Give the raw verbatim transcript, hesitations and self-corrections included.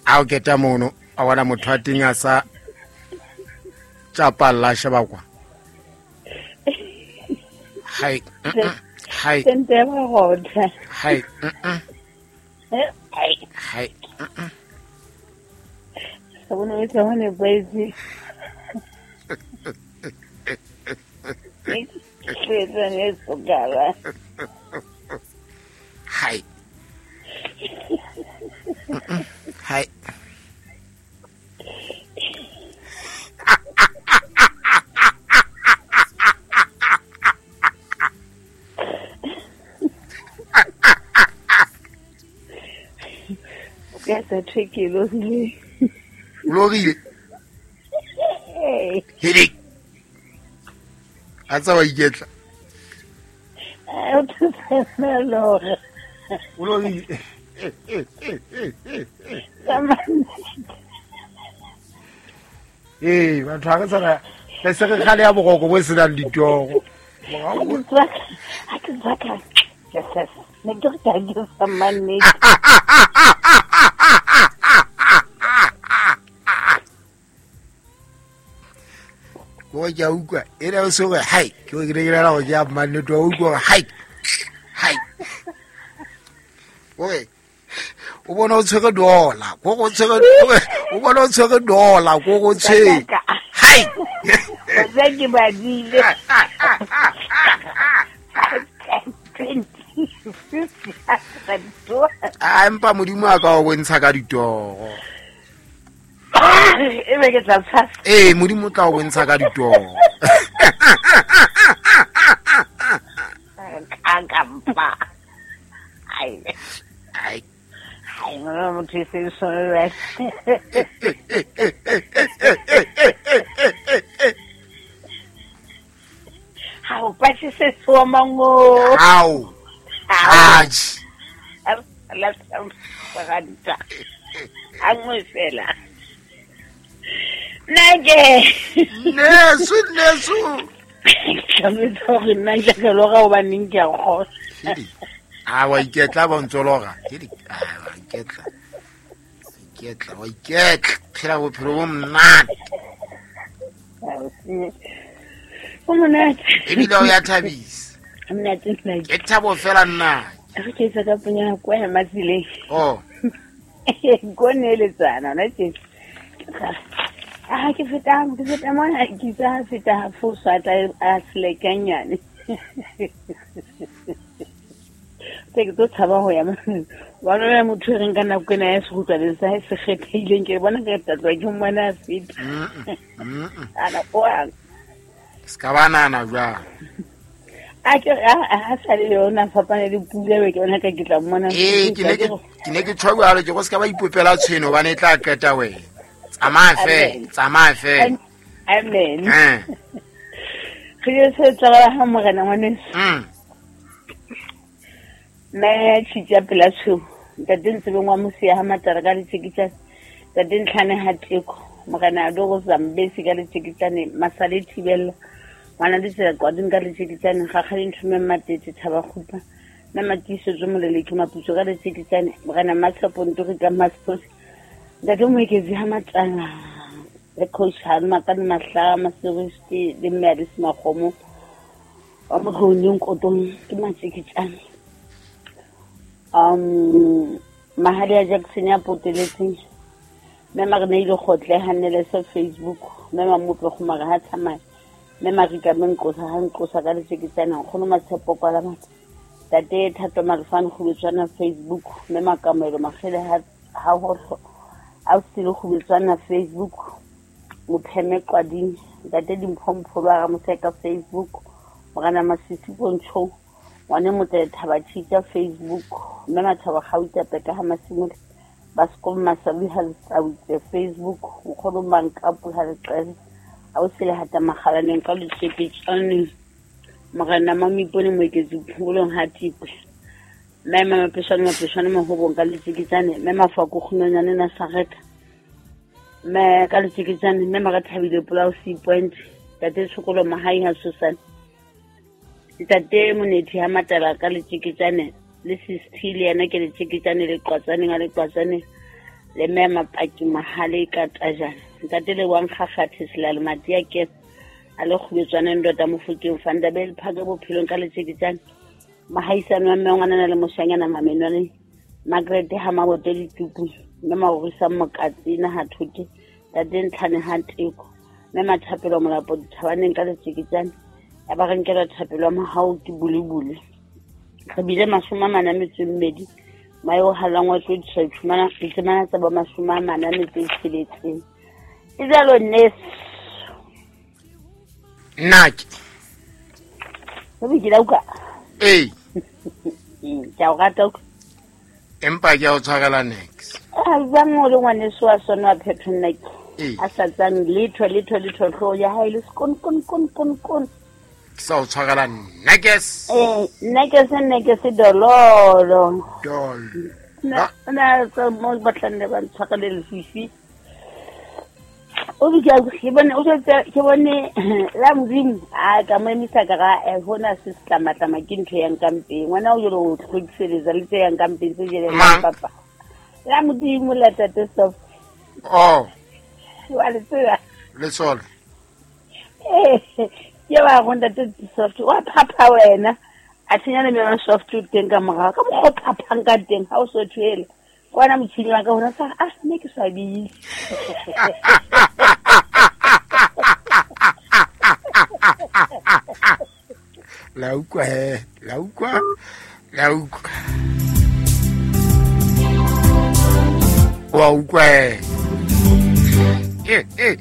A o keta mono a bona motho a teng a sa tjapalla sheba kwa. Hai. Hai. Tente ba gotla. Hai. Hai. Hai. Sa bona o tla hone boetse. Ke tsene sokala. Hai. Hai. Ke sa tricky lo le. Lo rile. Hedi. A tsa wa iketla. A o tsena lora. O lo rile. Eh, batho ha re tsana le se re khale ya boroko bo se nang ditoro. Ha ke tsaka. Yes, yes. Ne ke re ke sa manne. Go ke a utlwa e re o se re hai ke o ke re ra go ja manne to utlwa hai. Hai. Oi. O bona o tshwere dola, go go tshwere o bona o tshwere dola, go go tshwere. Hai. O tsa ke badile. A empa modimo a ka o bontsha ka ditoro. E be ke tla tshasa. Eh, modimo o tla o bontsha ka ditoro. Ka kampa. Ai. Ai. Ai, no motho e se sone. Ha o patse se so mango. Au. Aj. La tsanta. Angwe fela. Nage. Nesu nesu. Ka me tsore nna ke loga o ba neng ke a go. A wa iketla ba ntse loga. Ke a wa iketla. Iketla wa iketla. Phela bophelo bo monate. O monate. Ebile o ya thabisa. Monate nna. Ke thabo fela nna. Re ke tsa ka punya kwa ya matsileng. Oh. Go neletsana na tse. Ah ke feta ke feta mona ke tsa feta fosa tla a slekanyane. Ke tlo tshaba ho ya wa nna motho re nka nako ena ya se utlwa le sa se kgethileng ke bona ke tla ke mmona a feta. Ana o a ska bana na jwa. A ke a sa le yona fapane le pula be ke bona ka ke tla mmona. Eh ke ne ke ke ne ke tshwa jalo ke go ska ba ipopela tshweno bane tla qeta wena. Tsamaya fe, tsamaya fe. Amen. Eh. Re se tla ha morena ngwaneso. Mm. Me tshitja pela tsho. Ntate ntse bengwa mosia ha matara ka letshikitsane. Ntate ntlhane ha teko. Morena a do go zambesi ka letshikitsane masale thibella. Ngwana le tsela kwa ding ka letshikitsane ga ga dinthume matete thaba khupa. Na matiso tso moleleki maputso ka letshikitsane morena Matshepo Ntori ka Maspos. Ntate moeketsi ha matanga. Le coach ha makane mahla maseristi le mme a di smakgomo. Wa mokhoneng kotong ke matshikitsane. Um mahali ya Jackson ya poteletseng mme mare ile gotle hanele sa Facebook mme mamotlo go mara ha tsamaya mme marika menqosa ha nqosa ka letshikitsane nkgono Matshepo kwa la matla tate Thato Marifane go betswana Facebook mme makamelo magele ha ha ho a sile go betswana Facebook mopheme qwading tate Dimphompho ba Ramoseka Facebook morana Masisi Pontsho ngwane motse thaba tshitsa Facebook mme mathaba gauta peka ha masimole ba skom masabi ha tsautse Facebook nkgono mankapu ha leqele a o sele hata magalaneng ka letshepetsane morena Mamipone moeketsi phungolong ha tipwe mme mapeshane mapeshane mahobong ka letshikitsane mme mafako kgunonyane na sareta mme ka letshikitsane mme marathabile polao C point tate tshokolo mahai ha Susan Ntate Monethi ha Matala ka letjeketjane le Sisti le yena ke letjeketjane le Qwatsaneng a le Qwatsaneng le mme Mapaki Mahale ka Tajana. Ntate le wang Kgakgathe Selale Matia ke a le kgubetswana ndota Mofokeng Fandabel Phake bophelong ka letjeketjane. Mahaisano wa mme ngwana le moshanyana Mamenwane Margaret ha Mabote ditupu mme Maorisa Mokatsina ha Thote tate Ntlhane ha Teko mme Mathapelo Molapo dithabaneng ka letjeketjane ya ba re nkela thapelo ya mahao ke bulebule. Re bile mashome a mane a metso e mmedi maeo halangwa tlo ditšhumana ditemana tsa ba mashome a mane a metso e tsheletseng. E jalo nnes nnake o be ke la utlwa. Ee ke a o rata utlwa empa ke a o tshwarela next. A jwang o le ngwaneso wa sona wa phetho nnake Ee. a sa tsang letho letho letho hlooho ya hae le sekon kon kon kon kon. Ke sa o tshwarela next. Eh nnake se nnake se dololo. Dol. Na na tsa mo batlang le ba ntshwarele lefifi. O be ke ke bone o tse ke bone la Modimo a ka mo emisa ka ga eh hona se setlamatlama ke ntho ya nkampeng. Ngwana o jelo o tlhokiseletsa le tse ya nkampeng tse jele Mang? papa. La Modimo la tate soft. Oh, Wa le tseba. le sole. Eh ke ba go ntate soft wa phapha wena. A tsenya le mema soft o teng ka morao ka mokgwa o phaphang ka teng ha o so thwele. Kwana motjhini wa ka hona sa ah nne ke swabile. La utlwa he, la utlwa, la utlwa. Wa utlwa he. Eh eh